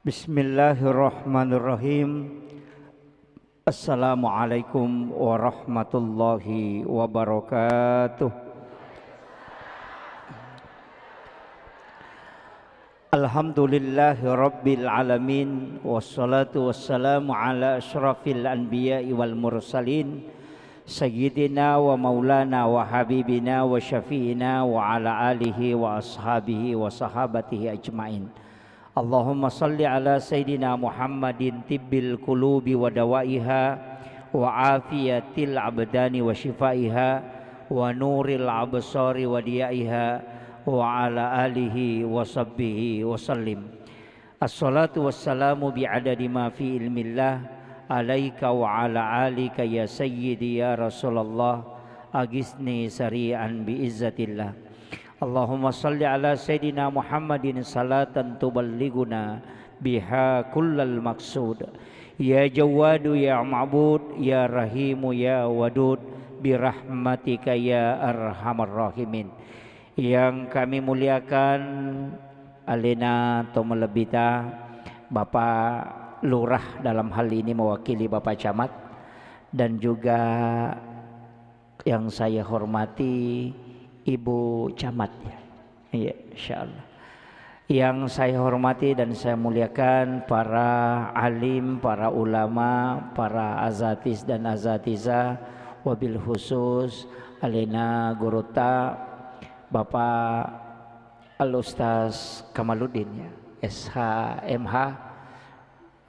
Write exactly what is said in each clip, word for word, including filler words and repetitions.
Bismillahirrahmanirrahim. Assalamualaikum warahmatullahi wabarakatuh. Alhamdulillahi rabbil alamin, wassalatu wassalamu ala asyrafil anbiya'i wal mursalin, sayyidina wa maulana wa habibina wa syafi'ina wa ala alihi wa ashabihi wa sahabatihi ajmain. Allahumma salli ala Sayyidina Muhammadin tibbil qulubi wa dawaiha, wa afiyatil abdani wa shifaiha, wa nuril absari wa diyaiha, wa ala alihi wa sahbihi wa sallim. Assalatu wassalamu bi'adadi ma fi ilmillah alaika wa ala alika ya sayyidi ya Rasulallah, agisni sari'an bi izzatillah. Allahumma salli ala Sayyidina Muhammadin salatan tuballighuna biha kullal maqsud. Ya Jawwadu ya Ma'bud, ya Rahimu ya Wadud, birahmatika ya arhamar rahimin. Yang kami muliakan, alena to malebbita, Bapak Lurah dalam hal ini mewakili Bapak Camat, dan juga yang saya hormati Ibu Camat, ya. Iya, insyaallah. Yang saya hormati dan saya muliakan para alim, para ulama, para azatis dan azatizah, wabil khusus alena gurutta Bapak Al Ustaz Kamaluddin, ya, S H, M H,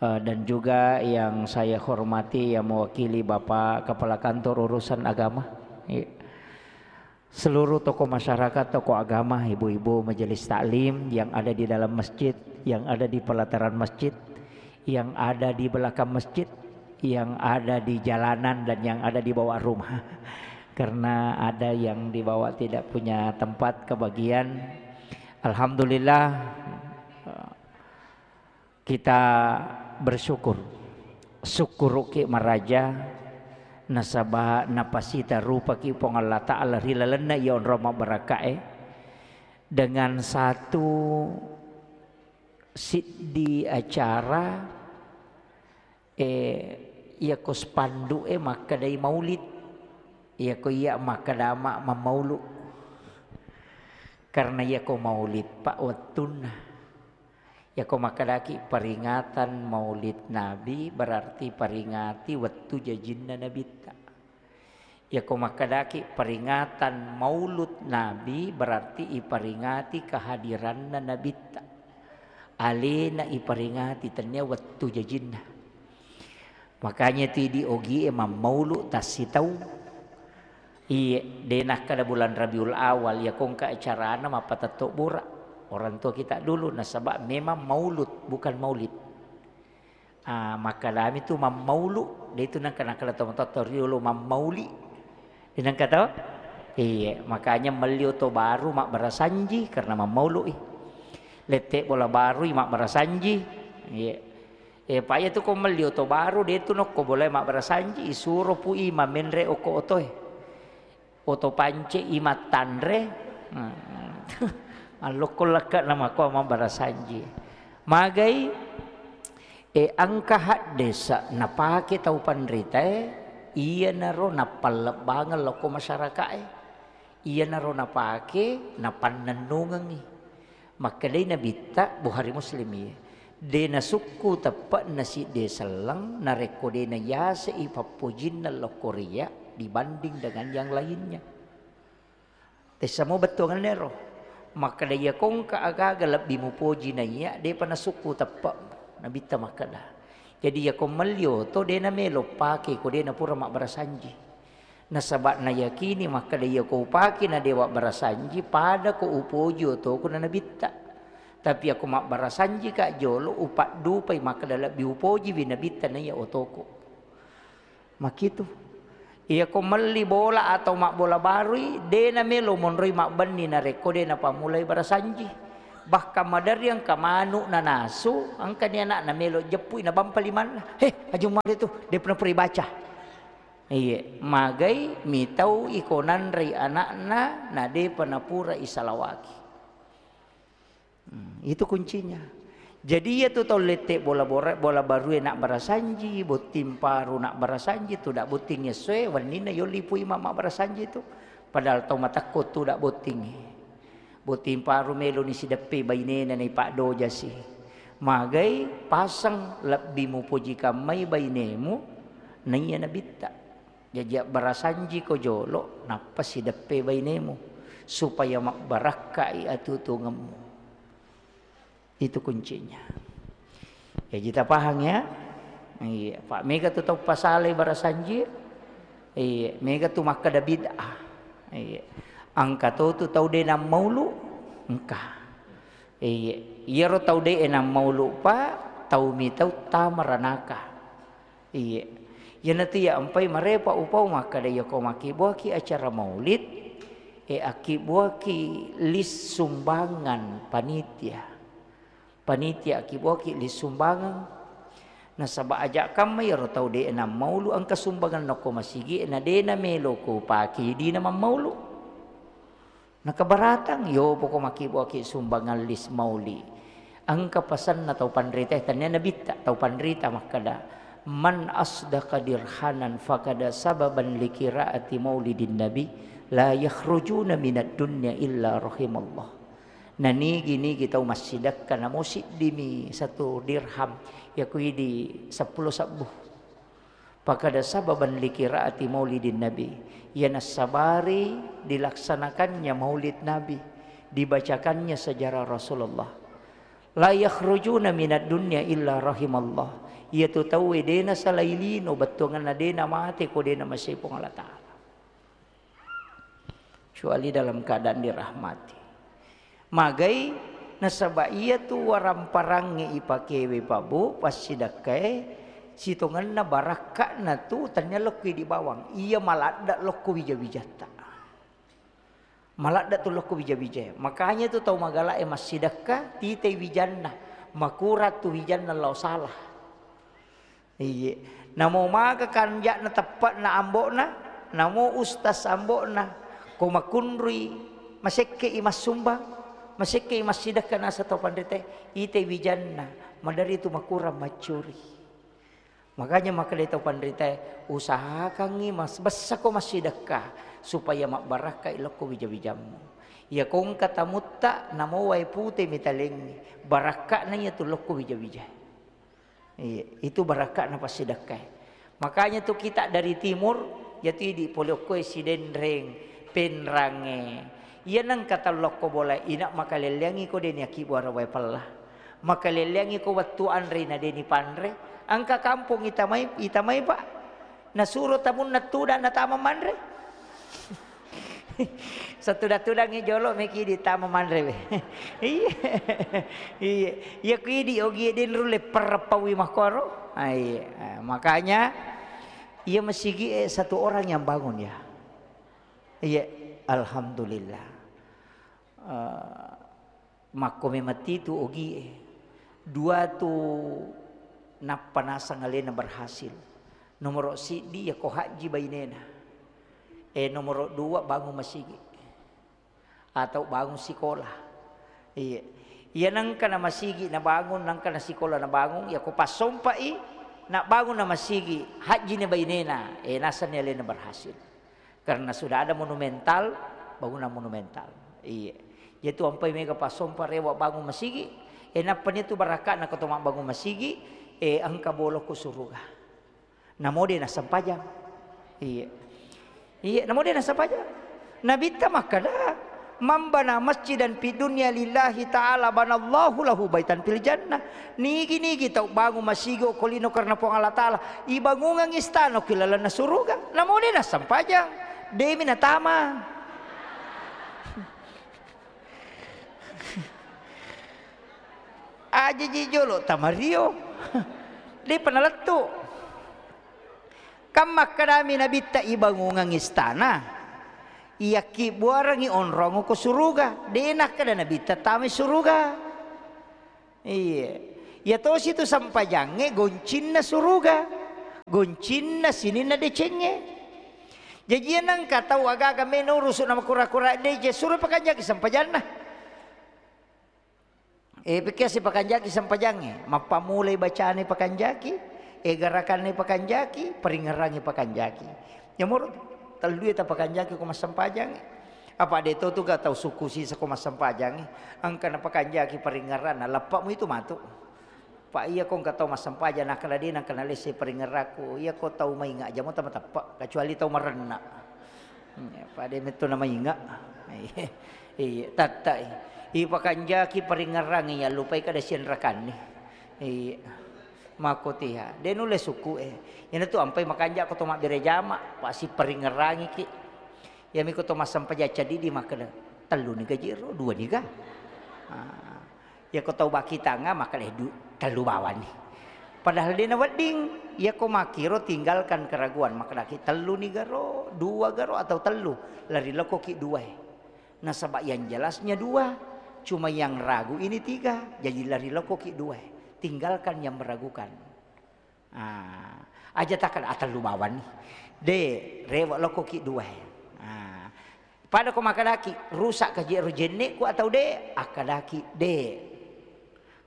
eh, dan juga yang saya hormati yang mewakili Bapak Kepala Kantor Urusan Agama. Iya. Seluruh tokoh masyarakat, tokoh agama, ibu-ibu majelis taklim yang ada di dalam masjid, yang ada di pelataran masjid, yang ada di belakang masjid, yang ada di jalanan, dan yang ada di bawah rumah. Karena ada yang di bawah tidak punya tempat kebagian. Alhamdulillah, kita bersyukur. Sukkuruki maraja nasaba napasita rupaki Puang Allah Ta'ala ri lalenna iya onrong mabbarakkae dengan satu siddi acara, eh, iyako spanduk e makkedai maulid, iyako iya makkeda ma-, mammaulu. Karena iyako maulid, Pak, wettunna. Iyako makkedaki peringatan Maulid Nabi, berarti peringati wettu jajinna Nabitta. Iyako makkedaki peringatan Maulud Nabi, berarti iperingati kehadiranna Nabitta. Alena iperingati, tennia wettu jajinna. Makanya tu idi ogie mammaulu tassitaung. Iye, de nakkeda bulan Rabiul Awal, iya kongka acarana mappatetto bura. Orang tua kita dulu, nasaba memang maulud, bukan maulid. Ah, makkedami tu mammaulu, de tu nengka nakkeda tomatoatta riolo mammauli. De nengka to? Iye, makanya melli oto baru mabbarasanji karena mammaului. Lette bola barui mabbarasanji. Iye. Eh, pa iya tu ko melli oto baru, de tu nokko bolae mabbarasanji, isuro pui mamenre okko otoe. Oto pance i mattanre. Nah, allokko lekka namakko mabbarasanji. Magai, eh, engka haddesa napake tau panritae, iyanaro nappallebbangeng lokko masyarakae. Iyanaro napake, napannennungengngi. Makkedai Nabitta, Bukhari Muslim, iye, de nasukku teppe'na sidde selleng narekko de nayasei pappojinna lokko riya dibanding dengan yang lainnya. Tessamo bettuangenna ero. Makkeda, iya kongka agaga lebbi mupoji naiya, depa nasukku teppe. Nabitta makkeda. Jadi, iya ko melli oto, de namelo pake ko de napura mabbarasanji. Nasaba nayakini makkeda, iya ko upake na de wabbarasanji, pada ko upoji otoku na Nabitta. Tapi iya ko mabbarasanjika jolo, upaddupai makkeda lebbi upojiwi Nabitta naiya otoku. Makitu. Iya ko melli bola atau mabbola barui, de namelo monroi mabbenni narekko de napammulai barasanji. Bahkan maderri engka manu nanasu, engkani anakna melo jeppui nabampa limanna. "He, Aji Umar itu, de pernah pura ibaca." Iye, magai mitau iko nanrei anakna, na depa napura isalawaki. Hmm, itu kuncinya. Jadi iyatu tau lette bola bora-, bola barue nabbarasanji, botting paru nabbarasanji, tudang botting essoe, wenninna yolli pui ma-, mabbarasanji tu. Padahal tau matekko tudang bottingnge. Botting paru meloni sideppe bainena naipaddojasi. Magai paseng lebbi mupoji kammai bainemu, naiya nabitta. Jaji abbarasanjiko jolo, nappa sideppe bainemu, supaya mabbarakkai atutungemmu. Itu kuncinya. Jaji tapahang ya. Iya, Pak, mega tu tau pasalai barasanji. Iya, mega tu makkeda bid'ah. Iya. Engka to tu tau de nammaulu, engka. Iya, iyaro tau de nammaulu, Pak, tau mitau tama ranaka. Iya. Iyanatu ya empai marepa upau makkeda, yako makkibbuaki acara maulid, e, akkibbuaki list sumbangan panitia. Panitia akkibbuaki list sumbangan. Nasaba aja kamma iyaro tau de nammaulu engka sumbangan nokko masigi, na de namelo ko pake dina mammaulu. Nakabaratang, yo poko makkibbuaki sumbangan list mauli. Engka pasenna tau panrita, tania nabitta, tau panrita makkeda, "Man asdaqa dirhanan fakada sababan likiraati maulidin nabi, la yakhrujuna minad dunya illa rahimallah." Nanigi-nigi tau massidekka namo siddimi satu dirham, yakuidi seppulo sebbu. Fakada sababan likiraati maulidin nabi, iya nassabari dilaksanakannya maulid nabi, dibacakannya sejarah Rasulullah. La yakhrujuna minad dunya illa rahimallah. Iyatu tauwe de nasalai lino, bettuanganna de namate ko de namasei Puang Allah Ta'ala. Kecuali dalam keadaan dirahmati. Magai nasaba iyatu waramparangnge ipakewe, Pak, Bu, passidekkae, sitongenna barakka'na tu tania lokko idi bawang. Iya maladda lokko wija-wijatta. Maladda tu lokko wija-wijae. Makanya tu tau magala'e massidekka, titei wijanna. Makurang tu wijanna lao salah. Iye. Namo maga kanja'na teppe'na ambo'na, namo ustas ambo'na, ko makunrui, masekke'i massumbang, masekke'i massidekka naseng tau panritae, ite wijanna, maderri tu makurang maccuri. Makanya makkeda tau panritae, usahakangngi mas-, bessako massidekka supaya mabbarakkai lokko wija-wijammu. Iya ko engka tamutta, namo wae pute mitalengngi, barakka'na iyatu lokko wija-wijae. Iya, itu barakka'na passidekkae. Makanya tu kita dari timur, yatu idi pole okkoe Sidenreng, Penrangnge. Iya nengka tau lokko bola, ina makalelleangi ko deni akkibbuara wae pella. Makalelleangi ko wettu anre na deni panre. Engka kampong itamai, itamai, Pak. Nasuro tamunna tudang natama manre. Satuda-tudangngi jolo meki ditama manre we. Iya. Iya. Iya ku idi ogi de nulle perreppawi makkoro. Ah, iya. Ah, makanya iya masigi, eh, satu orang yang bangun ya. Iya, alhamdulillah. Eh, Makko memang titu ogie. Dua tu nappa naseng alena berhasil. Nomoro siddi yako hajji bainena. Eh, nomoro dua bangun masigi. Atau bangun sikola. Iya. Iya nengka na masigi nabangun, nengka na sikola nabangun, yako passompai, nabangun na masigi, hajji ni bainena. Eh, nasenni alena berhasil. Karena sudah ada monumental, bangunan monumental. Iya. Jadi tu ampai mega passompa rewa bangun masigi, eh, nappa ni tu barakka'na ko to mabbangun masigi, eh, engka bolokko suruga. Namo de nassempajang. Iya. Iya, namo de nassempajang. Nabitta makkeda, "Man bana masjidan fid dunya lillahi ta'ala banallahu lahu baitan fil jannah." Nigi-nigi tau bangun masigi okko lino karena Puang Allah Ta'ala, ibangungang istana okko lalenna suruga. Namo de nassempajang. Demi natama. Ajaji jolo tamario. Depa nalettu. Kan makkedami Nabitta ibangungang istana, iyakkibbuarengngi onrong ko suruga. De nakkeda Nabitta tamai suruga. Iya. Iya tosi tu sempajangnge goncinna suruga. Goncinna sininna decengnge. Jaji iya nengka tau aga-aga meno urusu na makura-kura deceng, suro pakanjaki sempajanna. Eh, pekkiasi pakanjaki sempajangnge, mappammulai bacane pakanjaki, eh, garakanna pakanjaki, paringngerangngi pakanjaki. Yamoro tellue tapakanjaki ko massempajangnge. Apa de to tu ga tau sukku sisa ko massempajangnge, engka napakanjaki paringngeranna, leppa'mu itu matu. Pa iya ko engka tau massempajang nakkeda de nengka nalesse paringngerakku, iya ko tau mainga aja mo tama teppe, kecuali tau marenna. Hmm, ya, pada metto na mainga. Iya, tattai. Ipakanjaki paringngerangngi, yallupai kada sianrakanni. Iya. Makkotiha. De nulle sukku e. Iyana tu ampai makanja ko to mabbere jama, pasi paringngerangiki. Iyami ko to massempajang cadidi makkeda, "Tellu ni gaji ro, dua ni ga?" Ah. Iyako tau bakkitanga makkeda, "Du-, tellu bawani." Padahal de nawedding. Iyako makkiro tinggalkan keraguan, makkedaki, "Tellu ni garo, dua garo, atau tellu?" Lari lokoki dua e. Nasaba yang jelasnya dua, cuma yang ragu ini tiga, jadi lari lokoki dua e. Tinggalkan yang meragukan. Ah, aja takkeda, "Ah, tellu bawani." De, rewe lokoki dua e. Ah, pada ko makkedaki, "Rusak ka je ro jenne'ku atau de?" Akkadaki, "De."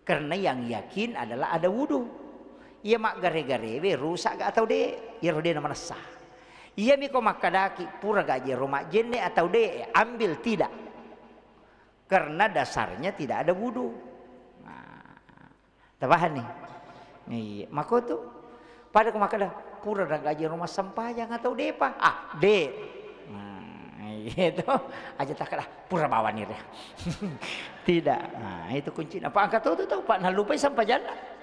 Karena yang yakin adalah ada wudu. Iya maggare-garewe rusak ga atau de? Iyaro de namanessa. Iyami ko makkedaki, "Pura ga je ro majjenne atau de?" Ambil tidak. Karena dasarnya tidak ada wudu. Nah, tapahanni? Iya, makotu. Pada ko makkeda, "Pura na gaji rumah sempajang atau depa?" Ah, de. Nah, iya to. Aja takkeda, "Pura bawani re." Tidak. Nah, itu kuncinya. Apa engka to tu tau, Pak, nalupai sempajanna.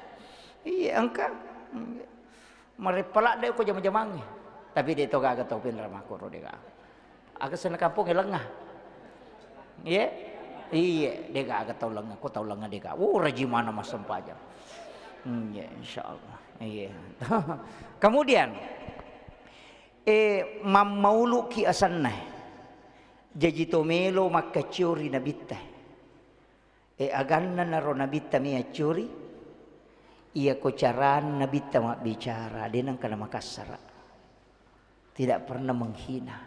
Iya, engka. Mareppa ladde ko jama-jamangnge. Tapi de to gaga tau pinra makkoro de gaga. Aga senna kampongnge lenga. Iye? Iye, de gaga tau lenga, ko tau lenga de gaga. Oh, rajimana massempajang. Hmm, ya, insyaallah. Iya. Kemudian, eh, mammauluki asenna. Jaji to melo makkaccio ri nabitta. E, aganna naro nabitta mi accuri, iyako carana nabitta mabbicara, de nengka namakassara. Tidak pernah menghina.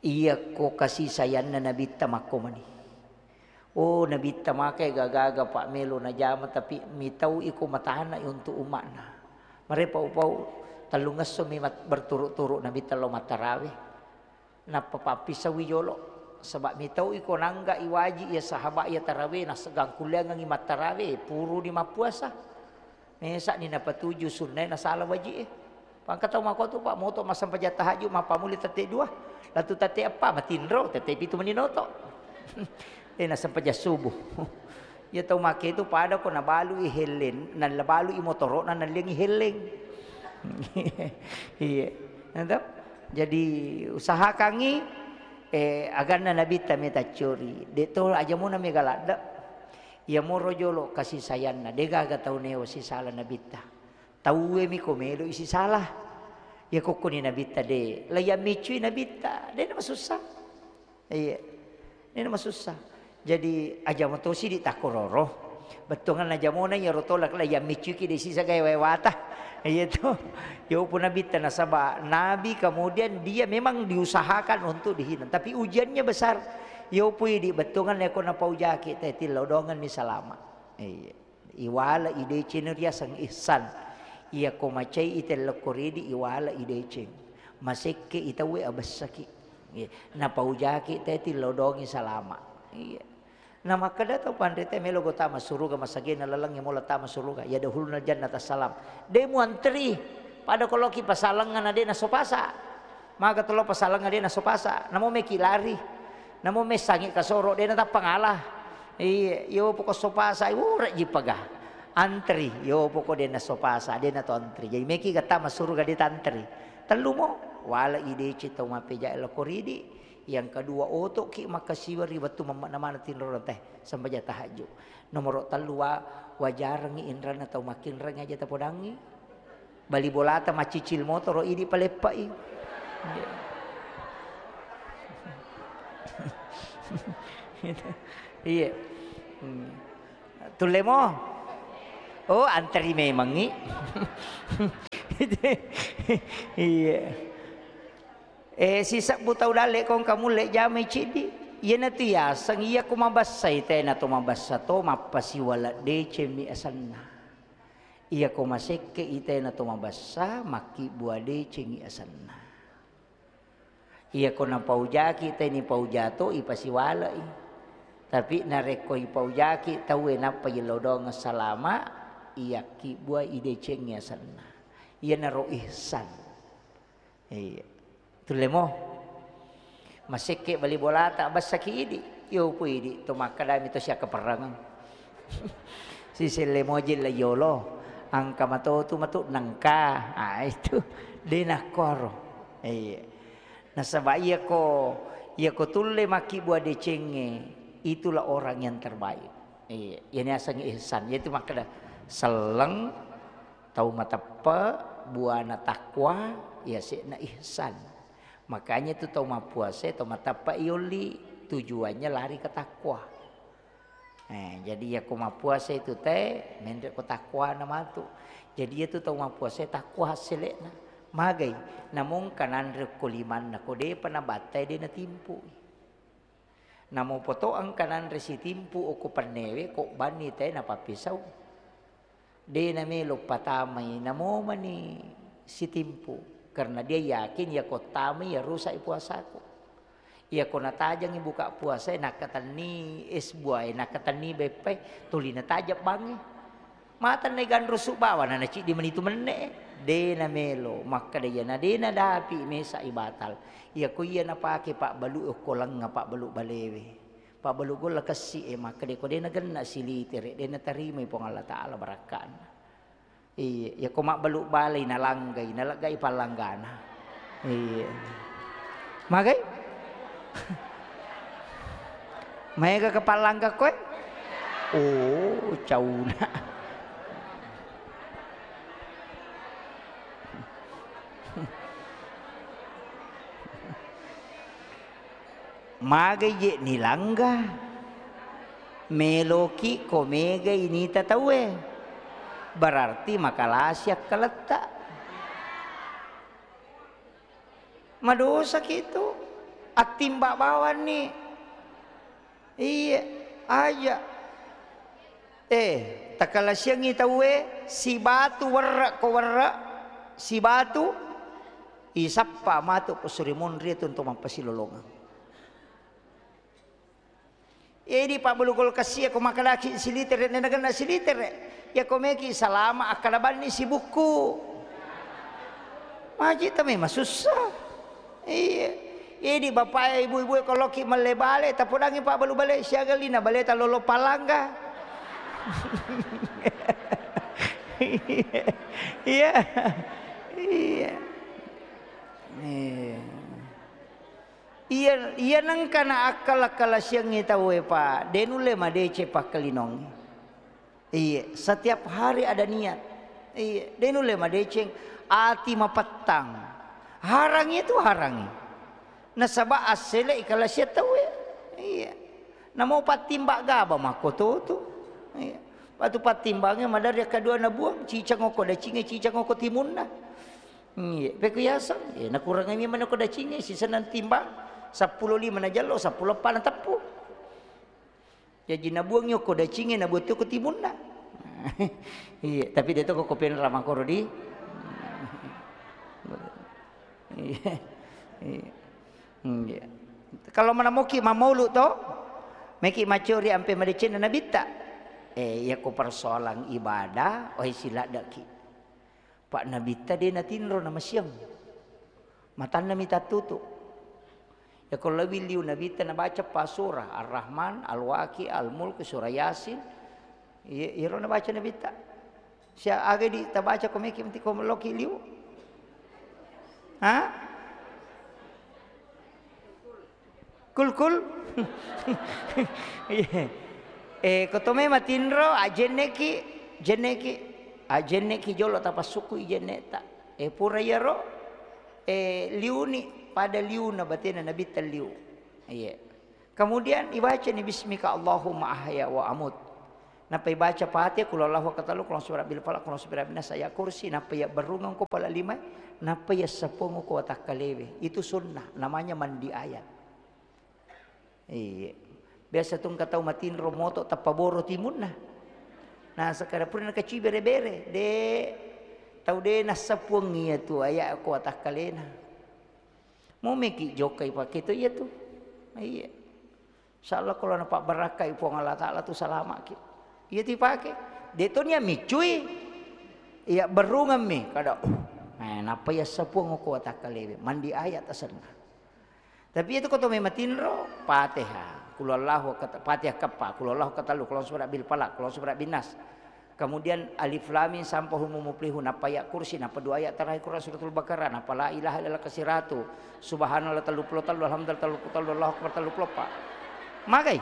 Iyako kasih sayangna nabitta makkomani. Oh, nabitta makai gaga-gaga pak melo najama, tapi mitau iko matana untuk umatna. Mare pau-pau, tellungesso mi mat-, berturut-turut nabitta lo mattarawe. Nappa pappisauwi jolo, saba mitau iko nangga iwaji iya sahaba iya tarawe, naseggang kulleangengngi mattarawe, puruni mappuasa. Mesa'ni napatuju sunnae nasala waji'e. Pangka tau makotu, Pak, moto massempajang tahajud, mappamuli tette dua, latu tette eppa, matinro, tette pitu meni noto. Eh, nassempajang subuh. Iya tau make itu pada ko nabalui helleng, nabalui motoro'na, nalliangi helleng. Iya. Nado? Jadi usahakangngi, eh, aganna nabitta meta curi. De to aja muna mega ladde. Iya moro jolo kasih sayangna, de gaga tau neo sisala nabitta. Tauwe mi ko melo isi salah. Iya kokkoni nabitta de. Laiya miccui nabitta, de na masussa. Iya. Ini masussa. Jadi, aja moto sidi takkororo. Bettuangan aja mona iyaro tolak la yang miccuki de sisa gaya wewata. Iya to. Yo pun nabitta nasaba nabi, kemudian dia memang diusahakan untuk dihina. Tapi ujiannya besar. Yo pui di bettuangan leko napaujaki te tillau dongan mi salama. Iya. Iwala ideceng riaseng ihsan. Iya ko macai itellekko ridi iwala ideceng. Masekke itawe abessaki. Iya. Napaujaki te tillau dongi salama. Iya. Na makkeda tau panrita melo go tama suruga masagena lalengnge mola tama suruga. Ya dahulna jannata salam. De muantri. Pada koloki pasalengnga na de nasopasa. Maga tolo pasalengnga de nasopasa. Namo meki lari. Namo messangi kasoro de natappa ngala. Iya, yo poko sopasa, ure ji paga. Antri, yo poko de nasopasa, de nato antri. Jadi meki ga tama suruga de tantri. Tellu mo, wala ideceng tau mappeja loko ridi. Yang kedua, otoki makkasiwari wettu mammakna maneng tinro teh sempajang tahajud. Nomoro tellu wa-, wajarengngi inranna tau makkinreng aja tapodangngi. Bali bolata maccicil motoro idi paleppai. Iya. Hmm. Tulle mo? Oh, antri memangngi. Iya. Eh, sisebbu tau dalle kong kamulle jamai ciddi. Iyanatu yaseng, iyako mabessai tena to mabessa to, mappasiwala decengmi asenna. Iyako masekke i tena to mabessa, makkibbua decengngi asenna. Iyako napaujaki teni paujato, ipasiwalai. Tapi narekko ipaujaki tauwe nappa yellodong salama, iyakkibbuai idecengngi asenna. Iyanaro ihsan. Iya. Tulle mo. Masekke bali bolata, bassaki idi. Yo pu idi, to makkedami to siakkaperrangeng. Siselle moji la yolo. Angka matotu matu nengka. Ah, itu. De nakkoro. Iya. Nasaba iyako, iyako tulle makkibbua decengnge, itulah orang yang terbaik. Iya, iyani asengnge ihsan. Yaitu makkeda selleng, tau mateppe, buana takwa, yase'na ihsan. Makanya tu tau mappuasa, tau mateppe yolli, tujuannya lari ke takwa. Eh, jadi iyako mappuasa itu te, menre ko takwana matu. Jadi iyatu tau mappuasa takwa hassele'na. Magai, namo engka nanre ko limanna, ko depa nabattai de natimpu. Namo poto engka nanre sitimpu okko pennewe, ko banni te napappisau. De namelo patamai, namo mani sitimpu. Karena dia yakin, iyako tamai, ya rusak i puasaku. Iyako natajangi buka puasae, nakkatenni es buae, nakkatenni beppae, tuli natajang bangnge. Matennai ganrusu bawang, na naciddi mani tu menne. De namelo, makkeda iyana de nadapi, mesai batal. Iyako iya napake pabbalu okko lengnga, pabbalu balewe. Pabbalu golla kessi e, makkeda ko de nagenna silitere, de natarimai Puang Allah Taala barakka'na. Iya, iyako mabbalu balai nalanggai, naleggai pallanggana. Iya. Magai? Maega ke pallangga koe? Oh, cauna. Magai je nilangga? Meloki ko megai nita tauwe. Berarti makalasi akkaletta. Madosaki tu. Attimba bawanni. Iya, aja. Eh, takalasiangngi tauwe, sibatu werre ko werre, sibatu isappa matu ko suri monri tu untuk mappasilolongeng. Edi pabbalu kulkas iya ko makkedaki silitere, nenagenna silitere. Iya ko meki salama, akkada banni sibukku. Maji ta memang susah. Iya. Edi bapak ibu-ibu ko loki melle bale, tapodangi pabbalu bale siaga lina bale ta lolo palangga. Iya. Iya. Iya. Iya, iya nengka na akkala-kalasiangngi tauwe, Pak. De nulle madeceng pakkalinongnge. Iya, setiap hari ada niat. Iya, de nulle madeceng ati mapettang. Harangi itu harangi. Nasaba assele ikalasiang tauwe. Iya. Namo pattimba gaba makkototu. Iya. Patu pattimbangnge madari akkadua nabuang, cicang okko dacingnge, cicang okko timunna. Iya, pekku yaseng, iya, nakurangi memang ko dacingnge, sisenna timbang, seppulo lima najallo, seppulo eppa nateppu. Jaji nabuangngi okko dacingnge, nabuang okko timunna. Iya, tapi de to ko penra makoro di. Iya. Iya. Iya. Kalau manamoki mamaulu to, meki macori ampe madecenna nabitta. Eh, iya ko persoalan ibadah, oi siladdaki. Pak Nabitta de natinro namasiang. Matanna mi tattutu. Yako lebbi liu Nabitta nabaca pa surah, Ar-Rahman, Al-Waqiah, Al-Mulk, surah Yasin. Iya, iyaro nabaca Nabitta. Sia aga di tabaca ko meki menti ko loki liu. Ha? Kul, kul. Iya. Eh, ko to mema tinro, ajenneki, jenneki, ajenneki jolo tapassukkui jenneta. Eh, pura iyaro, eh, liuni pada liuna batena Nabitta liu. Iya. Kemudian ibacani bismika Allahumma ahya wa amut. Nappa ibaca Fatihah, Qul huwallahu ahad, Qul a'udzu birabbil falaq, Qul a'udzu birabbin nas, Ayat Kursi, nappa iya berrungeng ko pala lima, nappa iya seppongo ko watakkalewe. Itu sunnah, namanya mandi ayat. Iya. Biasa tu engka tau matinro moto tappa boro timunna. Nah, sekarang pura nakaci bere-bere, de tau de nassapuang iya tu aya ko watakkalena. Mau meki jokkai pake tu iya tu. Iya. Insyaallah kalau napabbarakkai Puang Allah Taala tu salamaki. Iya tu ipake. De to nia miccui. Iya berungammi kada. Uh, eh, napa iya sapuang ko watakkalewe. Mandi ayat asenna. Tapi itu ko to mematinro, Fatihah, Qul huwallahu kat-, Fatihah keppa, Qul huwallahu katellu, Qul a'udzu birabbil falaq, Qul a'udzu birabbin nas. Kemudian Alif Lam Mim sampai Humul Muflihun, nappa ayat kursi, nappa dua ayat terakhir Quran Suratul Baqarah, nappa la ilaha illallah kasiratu, subhanallah tellu puluh tellu, alhamdulillah tellu puluh tellu, Allahu akbar tellu puluh empat. Magai?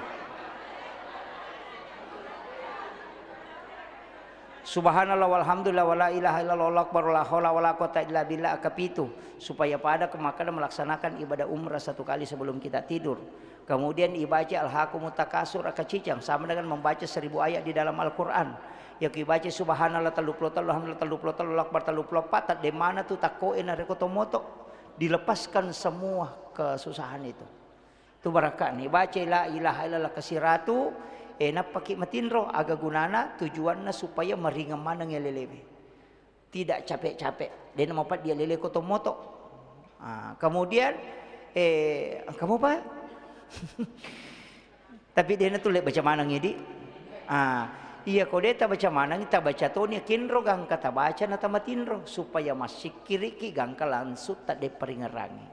Subhanallah walhamdulillah wala ilaha illallah wallahu akbar, la haula wala quwata illa billah, akapitu, supaya pada ke Makkah dan melaksanakan ibadah umrah satu kali sebelum kita tidur. Kemudian ibaca Alhaakumut Takasur, akacicang, sama dengan membaca seribu ayat di dalam Al-Quran. Yako ibaca subhanallah tellu puluh tellu, alhamdulillah tellu puluh tellu, Allahu akbar tellu puluh empat, tadde mana tu takkoe narekko to moto. Dilepaskan semua kesusahan itu. Tu barakka ni, baca la ilaha illallah kasiratu, eh, nappaki matinro, aga gunana? Tujuanna supaya maringeng maneng alelewe. Tidak capek-capek. Dena mapaddi alele ko to moto. Ah, kemudian, eh, kamu apa? Tapi dena tu le baca maneng idi. Ah, iya ko de tabaca maneng, tabaca toni kinro gangka tabaca na tamatinro supaya massikkiriki gangka langsung tadde paringerangi.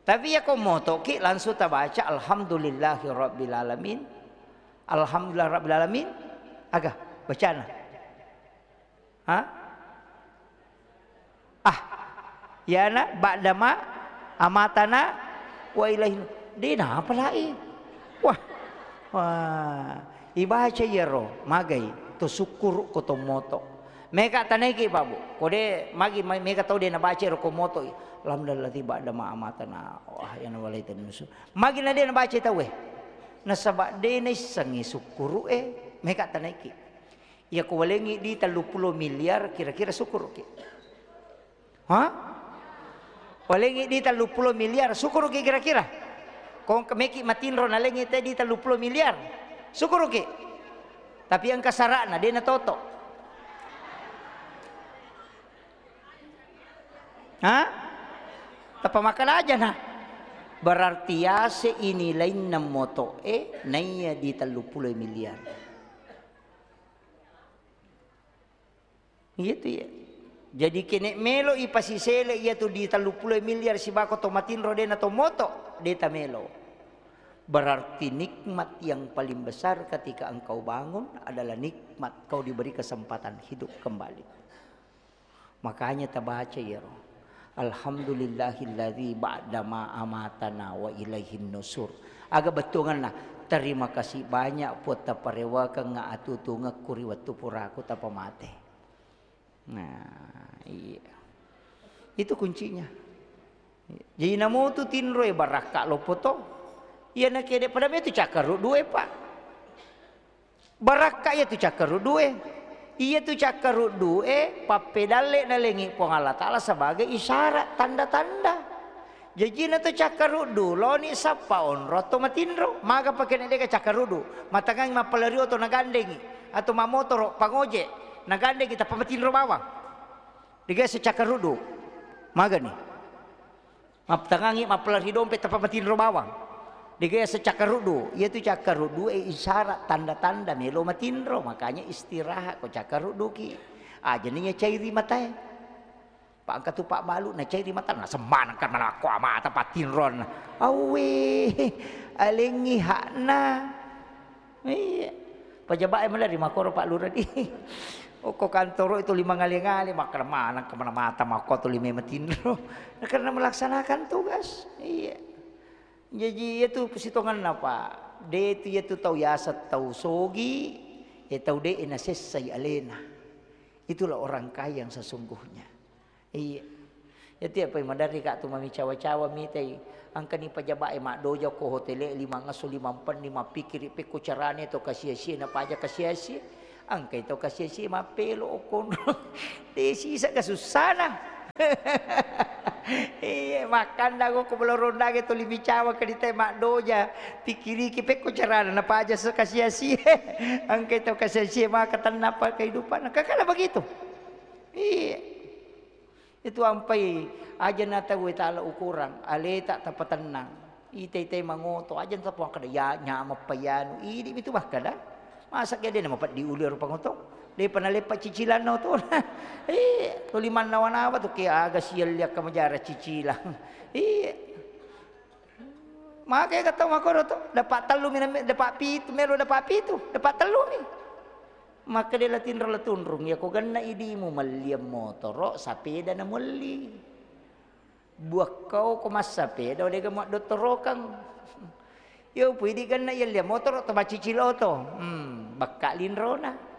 Tapi iya ko motoki langsung tabaca alhamdulillahi rabbil alamin. Alhamdulillah rabbil alamin. Aga bacana? Ha? Ah, yana ba'dama amatana wa ilaihin. De napa lai? Wah. Wah, ibaca iyaro magai to sukkuru ko to moto. Meka tanaiki, Pak, Bu. Ko de magi, ma-, meka tau de nabaca ro ko moto. Alhamdulillah ba'dama amatana. Wah, yana walaitani nusu. Magi na de nabaca tau e. Nasaba de naissengi sukkuru e, meka tanaiki. Iya ko walengi di tellu puluh miliar, kira-kira sukuruki? Ha? Walengi di tellu puluh miliar, sukuruki kira-kira? Ko engka meki matinro nalengi te di tellu puluh miliar, sukuruki? Tapi engka sara'na, de natoto. Ha? Tappa makkeda aja na. Berarti yase ini lainna moto e naiya di tellu puluh miliar. Gitu ya. Jadi kene melo ipasisele iya tu di tellu puluh miliar sibako to matinro de na to moto, de tamelo. Berarti nikmat yang paling besar ketika engkau bangun adalah nikmat kau diberi kesempatan hidup kembali. Makanya tabaca iyaro, "Alhamdulillahilladzi ba'dama amatana wa ilaihin nusur." Aga bettuanganna, "Terima kasih banyak Puang taparewakengnga atutungekku ri wettu puraku tapamate." Nah, iya. Itu kuncinya. Jadi namutu tinroe barakka loppo to. Iya nakede pada metu cakkaruddu e, Pak. Barakka iyatu cakkaruddu e. Iyatu cakkaruddu e pappedalle nalengi Puang Allah Taala sebagai isyarat, tanda-tanda. Jajina tu cakkaruddu, loni sappa onro atau matinro, maga pake na deka cakkaruddu, matangangi mappalari oto nagandengi, atau mamotoro, pangoje, nagandengi tappa matinro bawang. Dega se cakkaruddu, magani. Maptangangi mappalari dompe tappa matinro bawang. Dega yaseng cakkaruddu. Iyatu cakkaruddu e isyarat tanda-tanda melo matinro, makanya istirahat ko cakkarudduki. Ajani iya cairi matae. Pa engka tu pabbalu na cairi mata, na semmaneng kan manakko amata patinron. Awwe, alengi hakna. Iya. Pejabat e maleri makkoro Pak Lurah di. Okko kantoro itu lima ngale-ngale, makkeda maneng kemana mata makko tu lima matinro. Nah, karena melaksanakan tugas. Iya. Jaji iyatu sitongenna, Pak. De tu iyatu tau yaseng tau sogi, e tau de nasessai alena. Itulah orang kaya yang sesungguhnya. Iya. Iyatu apa maderri ka tu mamicawa-cawa mitai. Engkani pejabat e maddoja ko hotele, lima ngesso, lima mpenni, mappikiri pekko carane to kasia-sia, napaja kasia-sia. Engkai to kasia-sia mappelo okkonro. De sisa kasussana. Iya, makkanda ko, ko belorondage tuli micawa ke ditai maddoja, pikiriki pekko carana napaja se kasiasi. Engkai tau kasiasi maka tennapa kehidupan. Kakala begitu. Iya. Itu ampai aja na tau tala ukurang, aleta tapatennang. Ite-ite mangoto, aja tappa kada ya nyamappa yanu. Idi mitu makkada. Masa ke de na mapeddi ulu rupa ngoto. Depa naleppa cicilanna otona. Eh, tuli mannawa-nawa tu ke aga sialli akka majara cicilang. Iya. Maka ega tau makkoro to, dapat tellu mi, dapat pitu, melo dapat pitu, dapat tellu mi. Maka de la tinro la tunrung, ya ko genna idimu melliang motoro, sapeda na melli. Buakkau ko massapeda, dega madottorokang. Yo pui di genna iya lia motoro to macicil oto. Hmm, bakka linrona.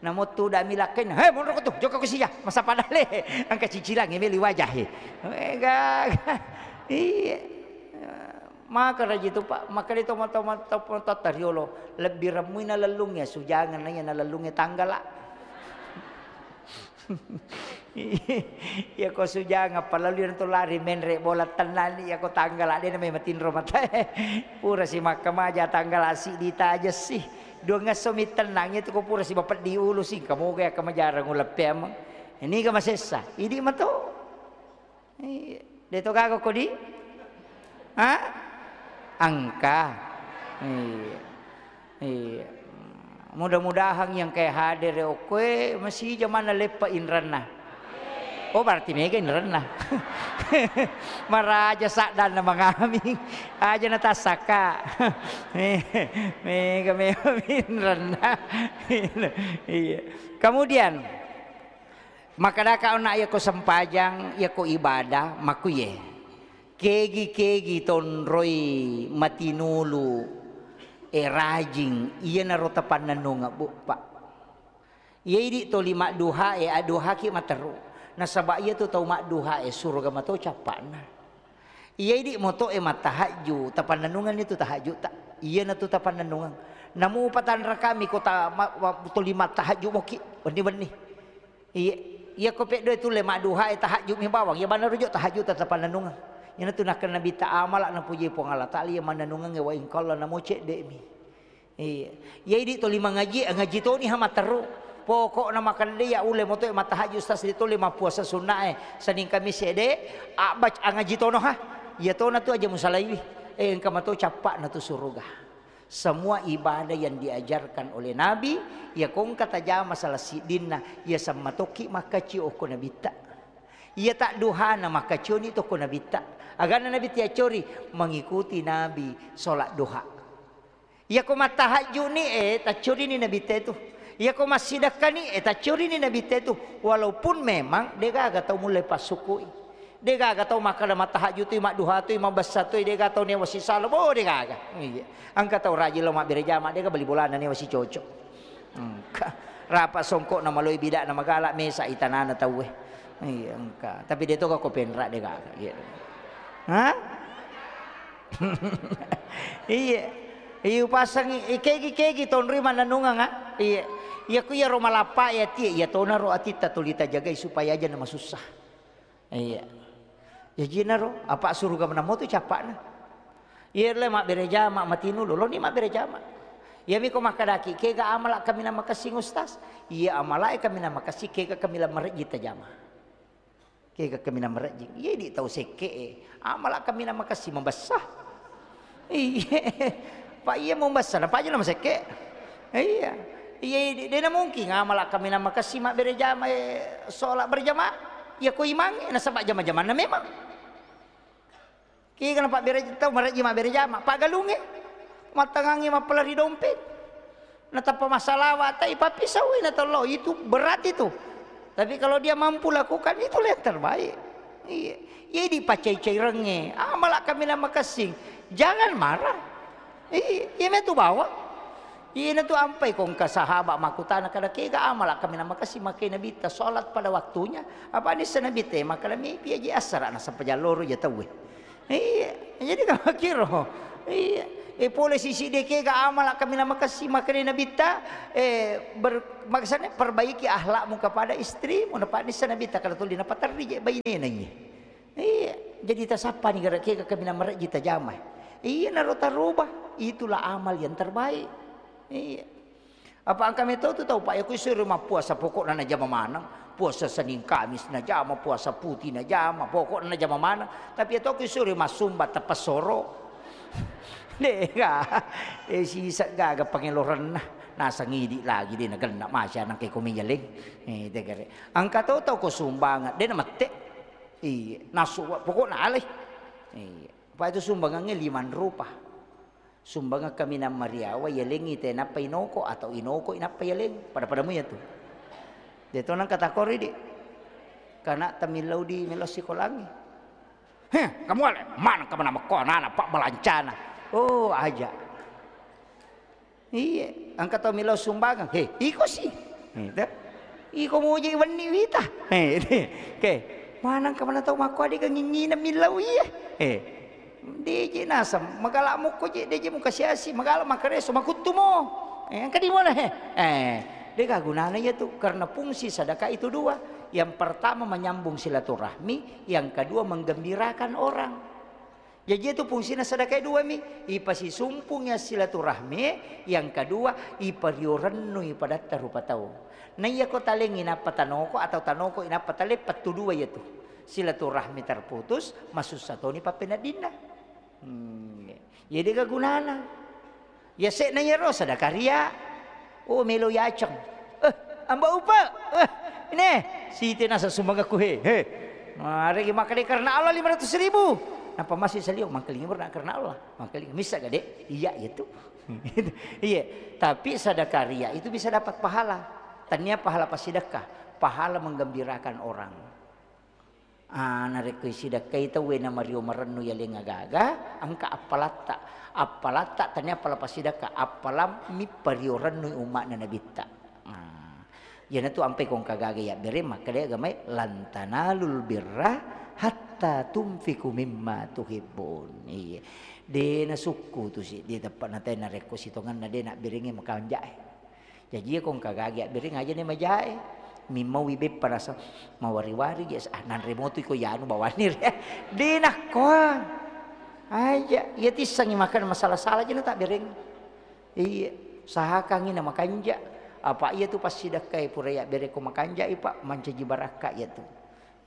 Namo tudami lakkainna, "He, monroko tu, jokka ko sija, masappa dale." Engka cicilangngi meli wajahe. Eh, gaga. Iya. Maka raji tu, Pak, maka di tomo-tomo, tomo-tomo riolo, lebbi remmui nalellungnge sujangeng na iya nalellungnge tanggala. Iya ko sujangeng, apalagi na tu lari menre bola tennani, iya ko tanggala, de na memang tinro matae. Pura si makkamaja tanggala siddi taja si. Duangngesso mi tennang itu ko pura si bapeddi ulu si, engka moga iya kamajarang uleppe ameng. Ini ga masessa, idi mato. Iya. De to gaga ko di? Ha? Engka. Iya. Iya. Mudah-mudahan yang kayak hadir okkoe masih jamanna leppa inranna. Oh, berarti mega inranna. Maraja saddanna mangaming. Aja na tassaka. Mega memang inranna. Iya. Kemudian, makkadaka onna, iyako sempajang, iyako ibadah, makkuye. Kegi-kegi tonroi matinulu, e, rajing, iyanaro tapannennungeng, Bu, Pak. Iya idi toli madduha e, adduhaki materru. Nasaba iyatu tau madduha e, suruga mato cappa'na. Iya idi moto e mattahajju, tapannennungenni tu tahajju'ta. Iyanatu tapannennungeng. Namu patanrakami ko ta-, ma-, ma-, toli mattahajju moki, wenni-wenni. Iya, iya ko peddoe tulle madduha e tahajju mi bawang, iya banna rujuk tahajju ta tapannennungeng. Iyanatu nakkeda Nabitta, amala napuji Puang Allah Taala iya mannennungengnge wa in qalla namo cedde mi. Iya. Iya idi toli mangaji, ngaji toni ha matteru. Pokokna makkeda de iya ulle moto e mattahajju stas di toli mappuasa sunna e. Senin Kamis ede, abbac angaji tono ha. Iya tona tu aja musalaiwi. Eh, engka mato cappa'na tu suruga. Semua ibadah yang diajarkan oleh Nabi, iya ko engka tajama salah siddinna, iya semmatokki makkaccio okko Nabitta. Iya tadduhana makkaccioni tokko Nabitta. Aganna Nabitta yaccori, mengikuti Nabi sholat duha. Iya ko mattahajjuni, eh, taccorini Nabitta itu. Iya ko massidekkani, eh, taccorini Nabitta itu. Walaupun memang degaga tau mulle passukui. Degaga tau makkeda mattahajju tui, madduha tui, mabessa tui, dega tau newa sisalo, bo, degaga. Iya. Engka tau rajin lo mabbere jama, dega bali bolana newa sicoco. Engka. Rapa songkokna maloi bidakna magala mesa itanana tauwe. Iya, engka. Tapi de toga ko penra, degaga. Iya. Hah? Iya. Iya, upasangi, ikegi-kegi tonroi mannennungeng, ah. Iya. Iya, ku iya ro malappa ya tie, iya tona ro atitta tuli tajagai supaya aja na masussa. Iya. Jajinaro, apa suruga menamo tu cappa'na. Iya le mabbere jama, matinulu, loni mabbere jama. Iya miko makkadaki, kega amala kaminang makessing Ustaz? Iya amala e kaminang makessing, kega kaminang marejji tajama. Kega kaminang marejji. Iya di tau sekke e, amala kaminang makessing mabessa. Iya. Pak iya mabessa, napa aja nama sekke. Iya. Iya, de, de na mungkin amala kaminang makessing mabbere jama e, sholat berjamaah. Iya ko imang e, nasaba jama-jamanna memang. Kega napabbere tau marejji mabbere jama, paggalungnge. Mattangangngi mappalari dompet. Natappa massalawa, tai pappisau na tollo, itu berat itu. Tapi kalau dia mampu lakukan, itulah yang terbaik. Iya. Iya dipacai-cairengnge. Amala kaminang makessing. Jangan marah. Iya, iya metu bawang. Iyanatu ampai ko engka sahabat makkutana kada kega amala kaminang makessing makkeda Nabitta sholat pada waktunya. Apa nissa Nabitta makkeda mepi aja assara nasaba jalloro ja tauwe. Iya, jadi kamakkiro. Iya. E pole sisi de kega amala kaminang makessing makkeda Nabitta, eh, ber-, maksudnya perbaiki akhlakmu kepada istrimu, napa nissa Nabitta kada tuli napaterri je bainena iye. Iya, jadi tasappani gara kega kaminang marejji tajama. Iya, naro taroba, itulah amal yang terbaik. Iya. Apa engka meto tu tau, Pak, ya, ku isuro mappuasa, pokokna najama maneng. Puasa Senin Kamis najama, puasa putih najama, pokokna najama maneng. Tapi ya to ku isuro massumba, teppesoro. Dega, eh, sisa gaga pangelorenna. Nasang idi lagi de nagenna masya nang ke komi yaleng. Eh, tegere. Engka to tau ko sumbangan, de namette. Iya, nasu, pokokna alai. Iya. Apa itu sumbangannya lima rupa. Sumbangeng kaminang mariawa, yalengngi te nappa inoko atau inoko inappa yaleng. Pada-pada mu ya tu. De to nang kata kori di. Kana tamillau di melo sikolangi. Heh, kamu ale, mana kamu nama ko anak-anak pak balancana. Oh, aja. Iya, engka tau millau sumbangeng. He, iko si. Gitu. Iko muji wenni wita. He, oke. Manang kemana tau makko adega ngingina millau iya. He. Deje nasam, magala mukko je, deje muka siasi, magala makareso, makuttu mo. Eh, engka di mana he? Eh, dega gunana iya tu, karena fungsi sedekah itu dua. Yang pertama menyambung silaturahmi, yang kedua menggembirakan orang. Jaji itu fungsina sedekah dua mi, ipasisumpung ya silaturahmi, yang kedua ipario rennui padatta rupa tau. Na iya ko talengi nappa tanoko atau tanoko inappa taleng, pettu dua iya tu. Silaturahmi terputus, masussa toni pappeneddinna. Hmm. Jadi kegunana. Ya, sekna iyaro sedekah ria. Oh, melo yaceng. Eh, Amba Upa. Eh, ini. Siti nasa sumbangaku he. He. Mari makkeda karena Allah lima ratus ribu. Napa masih salio? Mangkelingi baru nak karena Allah. Mangkelingi. Misa gede? Iya, iya tu. Iya. Tapi sedekah ria itu bisa dapat pahala. Tania pahala pasidekah. Pahala menggembirakan orang. Ah, narekko isidakkai tauwe namario marennu yaleng agaga, engka appalatta. Appalatta tania appala pasidakka, appalammi pario rennui umma'na Nabitta. Ah, iyanatu ampai kongka gaga yabbere makkeda agamai, "Lan tanalul birra hatta tunfiqu mimma tuhibbun." Iya. De nasukku tu si, de teppa natai narekko sitongenna de nabberengi makanjae. Jaji iya ko engka gagi abbereng aja ni majae. Mimmaui beppa rasa mawari-wari je, ah, nanre motu iko yanu bawanni re. De nakkoa. Aja, iya tissangi makan masala-sala je na tabbereng. Iya, usahakangi na makanja. Apa iya tu passidakkai pura yabbereng ko makanja i, Pak, mancaji barakka iya tu.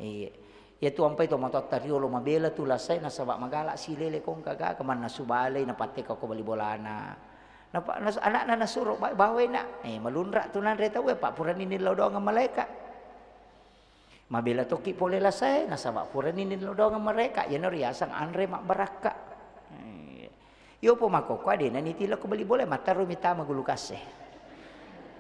Iya. Iyatu ampai tomatoatta riolo mabela tu lasae nasaba magala silele ko engka gaga mannasu balei napatteka ko bali bolana. Napa nas-, anakna nasuro ba-, bawai nak. Eh, malunra tu nanre tauwe, Pak, purani nillau doang malaeka. Mabela tokki pole lasae nasaba purani nillau doang malaeka. Iyana riaseng anre mabbarakka. Eh. Iyopo makkokkoe de' nanitilokko bali bola, matterumi tama gulu kasse.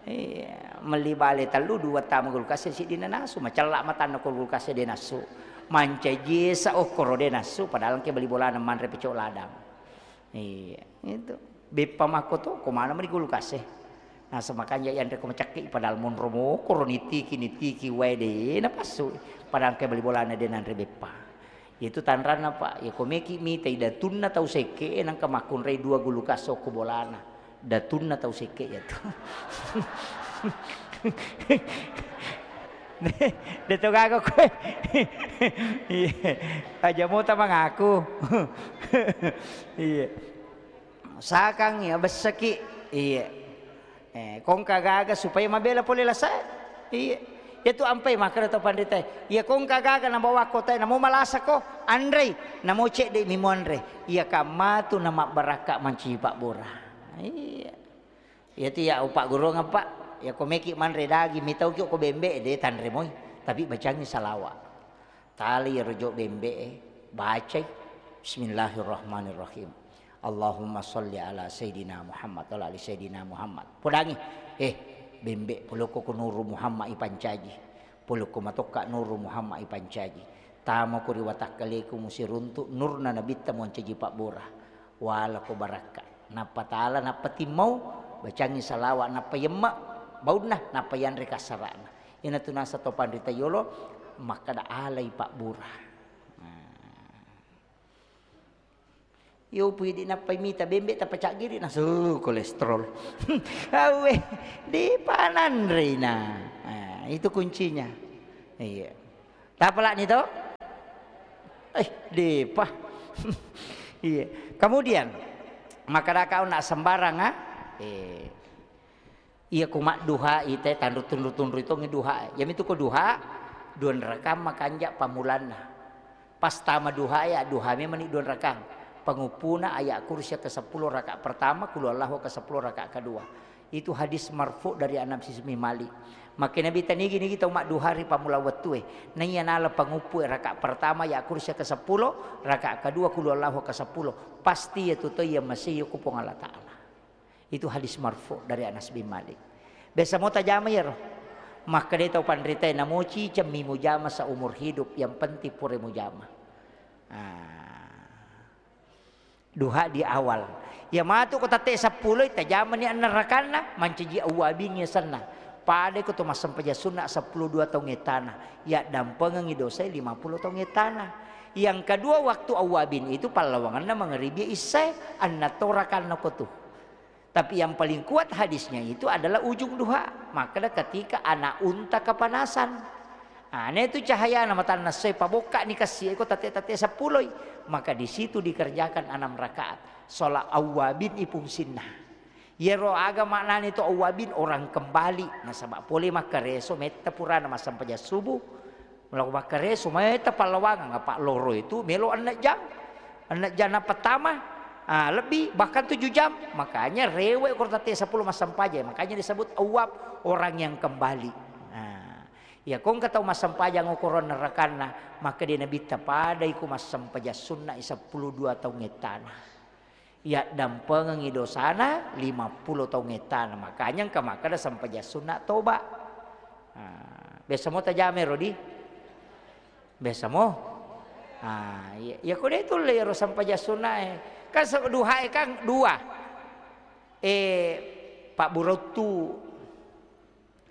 Iya, melli bale tellu, dua tama gulu kasse, siddi nanasu, macella matanna ko gulu kasse de' nassu. Mancaji esa okkoro de' nassu, padahal engka bali bolana manre pecok ladang. Iya, itu. Beppa makko to, ko mana meni gulu kasse. Nasaba makanja yanre ko macakki, padahal monro mokoro nitiki, nitiki wae de' napassu. Padahal engka bali bolana de' nanre beppa. Itu tanranna, Pak. Iya, ko meki mitai datunna tau sekke, nangka makkunrai dua gulu kasso ko bolana. Datunna tau sekke yatu. De' to gaga koe. Iya. Aja mota mangaku. Iya. Sakang ya bessaki. Iya. Eh, kongka gaga supaya mabela pole lasae. Iya. Iyatu ampai makkeda to panritae. Iya kongka gaga nabawa kotae, namo malasako, anrei, namo cedde' mi muanre. Iya kammatu namabbarakka mancaji pabbura. Iya. Iyatu ya upaggurungeng, Pak. Iya ko meki manre daging, mitauki ko bembe, de' tanre moi. Tapi bacangi salawa. Tali iyaro jo bembe'e, bacai, "Bismillahirrahmanirrahim. Allahumma sholli ala Sayyidina Muhammad, wa ala ali Sayyidina Muhammad." Podangi, eh, bembe, polokko ko Nuru Muhammad ipancaji. Polokko matokka Nuru Muhammad ipancaji. Tamako ri watakkaleku musiruntu nurna nabitta muancaji pabbura. Walako barakka. Nappa tala, nappa timmau, bacangi salawa, nappa yemma baunna, nappa yanre kassara'na. Iyanatu naseng to panrita yolo makkeda alai pabbura. Nah. Iyo pui idi nappai mita bembe tappa caggiri nasu kolesterol. Awe, dipananrei na. Nah, itu kuncinya. Iya. Tapalani to? Eh, depa. Iya. Kemudian, makkadaka onna sembarang, ah? Eh, iya ku madduhai te, tanru-tunru-tunru tongi duha. Yamitu ko duha, dua rakang makanja pamulanna. Pas tama duha ya, duha memang ni dua rakang. Penguppuna ayat kursi ke sepuluh rakaat pertama, kulu Allahu ke sepuluh rakaat kedua. Itu hadis marfu dari Anas bin Malik. Makkeda Nabitta, nigi-nigi tau madduha ri pammula wettue, naiya nala panguppu rakaat pertama, ya kursi ke sepuluh, rakaat kedua kulu Allahu ke sepuluh, pasti ya tu to iya masih ku Puang Allah Ta'ala. Itu hadis marfu dari Anas bin Malik. Biasa mo tajama iyaro. Makkeda tau panrita, namoci cemmi mujama seumur hidup, yang penting pura mujama. Ah. Duha di awal. Iya matu ko tette seppulo, tajamani enneng rakanna, mancaji awwabin yasenna. Pada ko to massempajang sunna seppulo dua taung ettana, yaddampengengi dosae lima puluh taung ettana. Yang kedua, waktu awwabin itu pallawangenna mangeribi issae, enneng to rakanna ko tu. Tapi yang paling kuat hadisnya itu adalah ujung duha. Makkeda ketika anak unta kepanasan. Nah, itu cahayana matanna essoe, pabokkani kassi eko tette-tette seppuloi. Maka di situ dikerjakan enam rakaat. Sholat awwabin ipungsinna. Yero aga maknani to awwabin, orang kembali. Nasaba pole makkareso metta purana massempajang subuh. Melo makkareso metta pallawangang, apa loro itu melo enneng jam. Enneng jam na pertama, ah, lebih, bahkan tujuh jam. Makanya rewe ko tette seppulo massempajang. Makanya disebut awwab, orang yang kembali. Nah, iya ko engka tau massempajang okoro enneng rakanna, maka dia Nabitta padai ko massempajang sunna seppulo dua taung ettana. Yaddampengengi dosana lima puluh taung ettana. Makanya engka makkeda sempajang sunna toba. Ah, biasa mo tajama ero di? Biasa mo? Ah, iya, iya ko de tulle ero sempajang sunnae. Kan se-, duhae kan dua. Eh, pabburottu.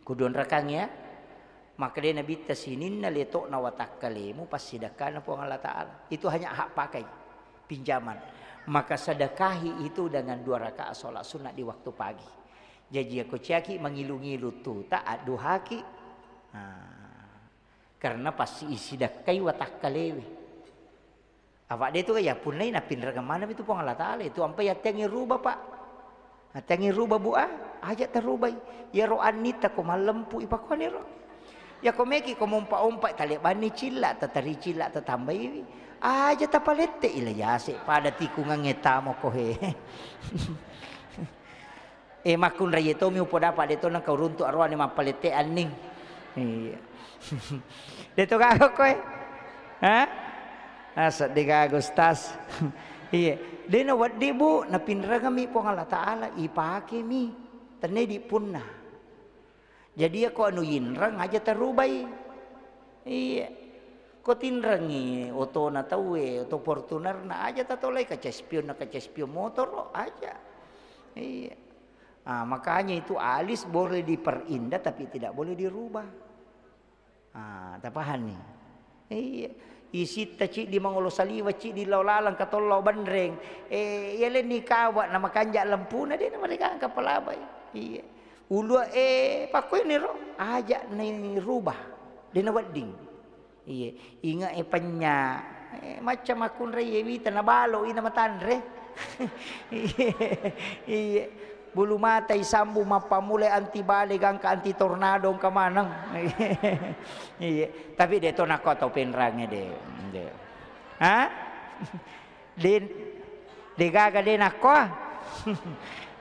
Kudu onrakang ya. Maka de Nabitta, sininna leto'na watakkalemu passidakkana Puang Allah Ta'ala. Itu hanya hak pakai, pinjaman. Maka sedekahi itu dengan dua rakaat sholat sunnah di waktu pagi. Jaji, ako ciaki mangilu-ngilu tuta, adduhaki. Nah, karena pasti isidakkai watakkalewe. Apa de tu ya punnai napinrengeng maneng itu Puang Allah Ta'ala itu, ampai attengi rubah, Pak. Attengi rubah, Bu, ah, aja tarubai. Yaro annitta ko mallempu ipakuani ro. Ya ko meki ko mompa-ompa talebanni cilla, tatari cilla tatambaiwi. Aja tapalette ila yase pada tikungangnge tamo ko he. Eh, makkunrai tomi upodapa de to nengka uruntu aroane mappalette anning. Iya. De to gaga koe. Ha? Asa de gaga, Ustaz. Iya. De na wedding, Bu, napinrengemi Puang Allah Ta'ala, ipakemi. Tenne di punna. Jadi, iya ko anu yinreng aja tarubai. Iya. Ko tinrengi otona tauwe, oto Fortunerna aja tatolai, kaca spionna, kaca spion motoro aja. Iya. Ah, makanya itu alis boleh diperindah tapi tidak boleh dirubah. Ah, tapahanni? Iya. Isitta ciddi mangolo saliweng, ciddi lao laleng, katollo benreng. Eh, iya lenni kawa na makanja lempuna, de na mereka angka palabai. Iya. Ulua, eh, pakkoini ro, aja ni rubah. De na wedding. Iya, inge e penya. Eh, macca makkunrai e wita na balo ina matanre. Iya, iya. Bulu mata isambung mappamulai anti bale gangka anti tornado engka maneng. Iya. Tapi de to nakko tau penrange de. De. Ha? De, de gaga de nakko.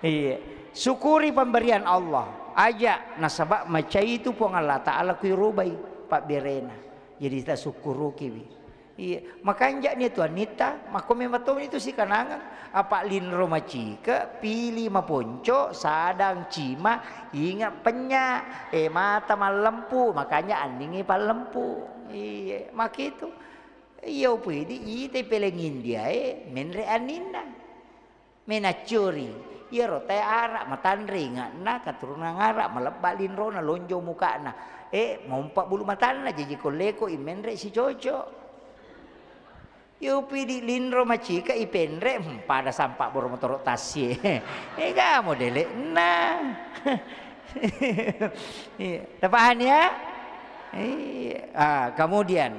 Iya. Syukuri pemberian Allah. Aja nasaba macai itu Puang Allah Ta'ala kui rubai pabberena. Jadi tasukkurukiwi. Iya, makanja'ni tu annitta, makko memang to itu sikanangang. Apa linro macike, pili maponco, sadang cima, inga penya, eh, mata mallempu, makanya anningi pallempu. Iya, makitu. Iya, upidi ite peleng India e, menre anninna. Menaccuri, iyaro tae Arab, matanre inge'na, keturunan Arab, malebba linrona, lonjong muka'na. Eh, mompa bulu matanna, jaji kolleko imenre sicoco. Yo pidi linro macika ipenre, hmm, pada sampa boro motoro tassie. Ega modele'na. Iya, tapahani ya? Iya. Ah, kemudian